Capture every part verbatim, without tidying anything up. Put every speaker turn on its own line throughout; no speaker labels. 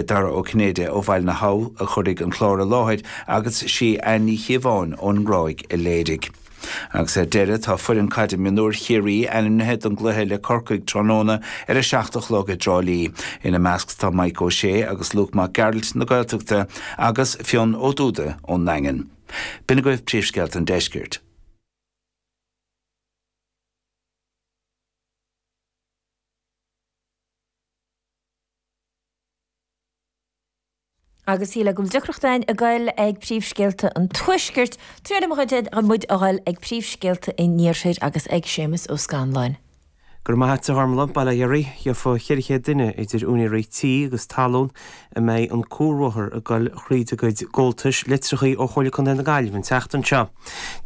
Dara Ó Cinnéide ó Bhaile na hAbha a chuirfidh an clár i láthair agus sí Anne Ní Chíobháin ón nGráig a léirigh. Agus ar deireadh tá foireann caide mionúir Chiarraí ainmnithe don gcluiche le Corcaigh tráthnóna ar a seacht a chlog i dTrá Lí. Ina measc tá Mike O'Shea agus Luke Mac Gearailt na Gaeltachta agus Fionn Ó Dúda ón nDaingean. B'in agaibh príomhscéalta an deiscirt.
Agus shíl go bhfuil deacracht againn ag goil ag príomhscéalta an tuaiscirt, triail muid a ghoil ag príomhscéalta an iarthair agus ag Séamus Ó Scanláin.
Go raibh maith agat a Ghormlaith, bail ó Dhia oraibh. Gheofa cheithre chéad duine idir úinéirí tí agus talún a mbeidh an cuarbhóthar ag goil thríd a gcuid gcomhaltais litreachaí ó Chomhairle Contae na Gaillimhe an tseachtain seo.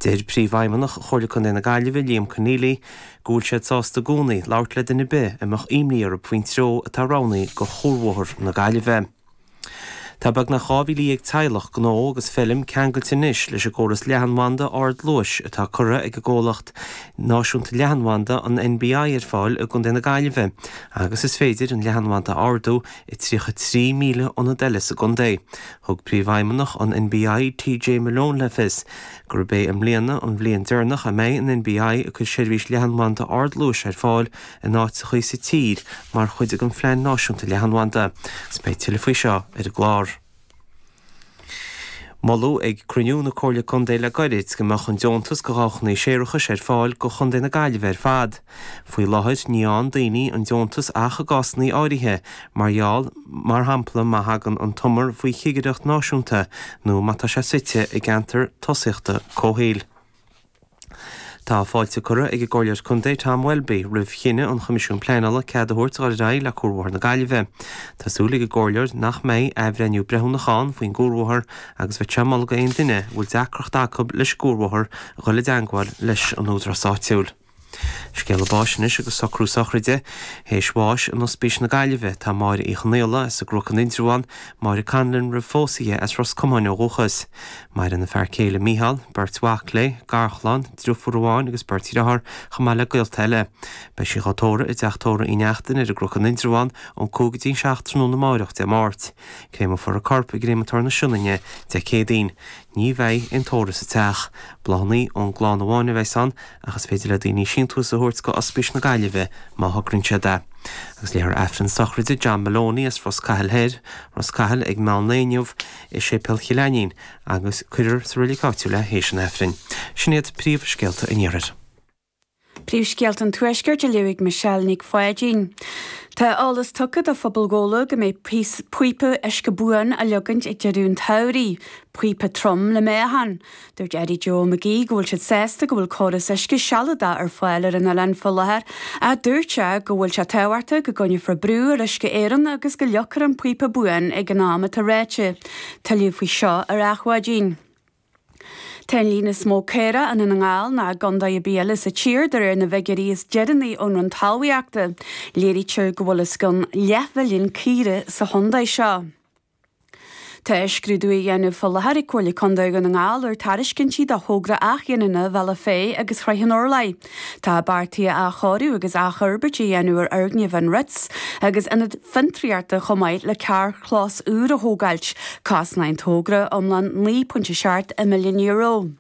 Deir Príomhfheidhmeannach Chomhairle Contae na Gaillimhe, Liam Conneely, go bhfuil siad sásta i gcónaí labhairt le duine ar bith a mbeadh imní orthu faoin treo atá roghnaithe do chuarbhóthar na Gaillimhe. Tá beagnach dhá mhíle dhéag teaghlach, gnó agus feilm ceangailte anois leis an gcóras leathanbhanda ardluais atá curtha ag an gcomhlacht náisiúnta leathanbhanda, an NBI, ar fáil i gContae na Gaillimhe agus is féidir an leathanbhanda a ardú i tríocha trí míle ionad eile sa gcontae. Thug Príomhfheidhmeannach an NBI, TJ Malone le fios gurb é i mbliana an bhliain deireanach a mbeidh an NBI ag cur seirbhís leathanbhanda ardluais ar fáil in áiteachaí sa tír mar chuid den Phlean Náisiúnta Leathanbhanda. Agus beidh tuilleadh faoi seo ar an gclár. Moladh ag cruinniú na Comhairle Contae le gairid go mbeadh an deontas do dhamhchanaí séarachais ar fáil do Chontae na Gaillimhe ar fad. Faoi láthair ní fhaigheann daoine an deontas ach i gcásanna áirithe, mar gheall, mar shampla má thagann an t-umar faoi chigireacht náisiúnta nó má tá sé suite i gceantar tosaíochta comhshaoil. Tá fáilte curtha ag an gComhairleoir Contae Tom Welby roimh chinneadh an Choimisiúin Pleanála cead a thabhairt dul ar aghaidh le Cuarbhóthar na Gaillimhe. Tá súil ag an gComhairleoir nach mbeidh athbhreithniú breithiúnach ann faoin gcuarbhóthar agus bheadh sé ag moladh d'aon duine a bhfuil deacracht acu leis an gcuarbhóthar a dhul i dteangmháil leis an údarás áitiúil. Scéala báis anois agus socrú sochraide. Théis bháis in Ospís na Gaillimhe tá Máire Uí Chonaola as an gCnoc in Indreabhán, Máire Conlon roimh phósadh di as Ros Comáin ó dhúchas. Maireann a fear céile Mícheál, beirt mhac léi, garchlann, driofúr amháin agus beirt dhriotháir, chomh maith le gaolta eile. Beidh sí dhá tórramh i dteach tórraimh Uí Neachtain ar an gCnoc in Indreabhán ón cúig go dtí an seacht tráthnóna amáireach, Dé Máirt. Créamfar a corp i gcréamatóir na Sionainne Dé Céadaoin. Ní bheidh aon tórramh sa teach. Bláthanna ón gclann amháin a bheas ann ach is féidir le daoine síntiús a thabhairt go Ospís na Gaillimhe má thograíonn siad é. Agus léifear Aifreann sochraide John Maloney as Ros Cathail Thoir, Ros Cathail ag meán lae inniu i Séipéal Chill Ainnín agus cuirfear sa reilig áitiúil é théis an Aifrinn. Sin iad príomhscéalta an Iarthair.
Príomhscéalta an Tuaiscirt á léamh ag Michelle Nic Pháidín. Tá eolas tugtha do phobal Ghabhla go mbeidh píopa uisce buan á leagaint ag deireadh an tsamhraidh, píopa trom le meáchan. Dúirt Eddie Joe McGee go bhfuil siad sásta go bhfuil córas uisce sealadach ar fáil ar an oileán faoi láthair ach dúirt sé go bhfuil sé tábhachtach go gcoinneofar brú ar Uisce Éireann agus go leagfar an píopa buan ag an am atá ráite. Tuilleadh faoi seo ar Adhmhaidin. Tá an líon is mó caorach i nDún na nGall ná i gcontae ar bith eile sa tír de réir na bhfigiúirí is deireanaí ón Roinn Talmhaíochta. Léirítear go bhfuil os cionn leathmhilliún caora sa chontae seo. Tá scrúdú á dhéanamh faoi láthair ag Comhairle Contae Dhún na nGall ar tairiscintí do thogra athghiniúna Bhealach Féich agus Shraith an Urláir. Tá beartaithe athchóiriú agus athfhorbairt a dhéanamh ar fhoirgneamh an Ritz agus ionad fiontraíochta chomh maith le carrchlós úr a thógáilt. Cosnóidh an togra iomlán naoi pointe seacht milliún euro.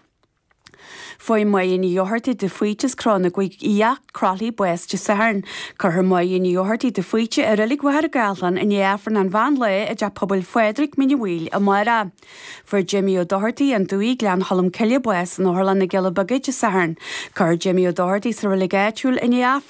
Fuair Máire Ní Dhochartaigh de Faoite as Cró na gCúig Fhiach, Croithlí, bás Dé Sathairn. Cuirfear Máire Ní Dhochartaigh de Faoite i Reilig Mhachaire Gathlán i ndiaidh Aifreann an mheán lae i dTeach Pobail Phádraig, Mín an Mhaoil, amárach. Fuair Jimmy Ó Dochartaigh, An Dumhaigh, Gleann Cholm Cille, bás in Otharlann na gCealla Beaga Dé Sathairn. Cuirfear Jimmy Ó Dochartaigh sa reilig áitiúil i ndiaidh Aifreann.